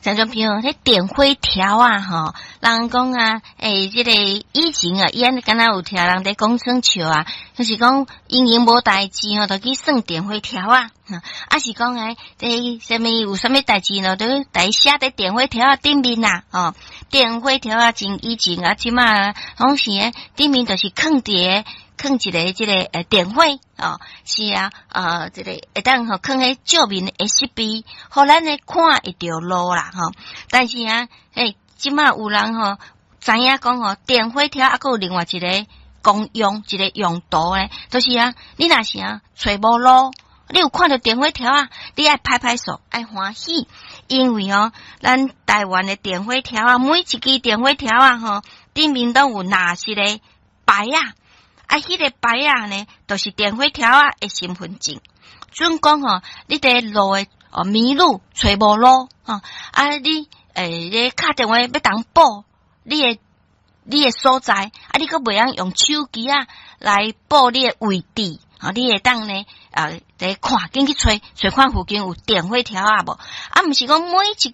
像種比如彼電火條啊，吼，人講啊，欸，這個以前啊，伊按呢敢若有聽人佇講耍笑啊，就是講閒閒無代誌吼，就去算電火條啊，啊是講欸，這啥物有啥物代誌呢，都來寫佇電火條仔頂面啊，吼，電火條仔真以前啊，這馬攏是欸，頂面就是囥佇囥一个這個電火哦，是啊，這個會當吼囥彼照明的設備，予咱咧看會著路啦吼。但是啊，欸，這馬有人吼知影講吼，電火條猶閣有另外一个功用，一個用途咧，就是啊，你若是啊揣無路，你有看著電火條仔，你愛拍拍手，愛歡喜，因為吼，咱台灣的電火條仔，每一支電火條仔吼，頂面攏有藍色的牌仔。啊，彼個牌仔呢，就是電火條仔的身份證。準講吼，你佇路的哦迷路，揣無路吼，啊，你欸，你敲電話欲通報你的所在，啊，你閣袂曉用手機仔來報你的位置，吼，你會當呢啊，佇看，緊去揣揣看附近有電火條仔無？啊，毋是講每一支。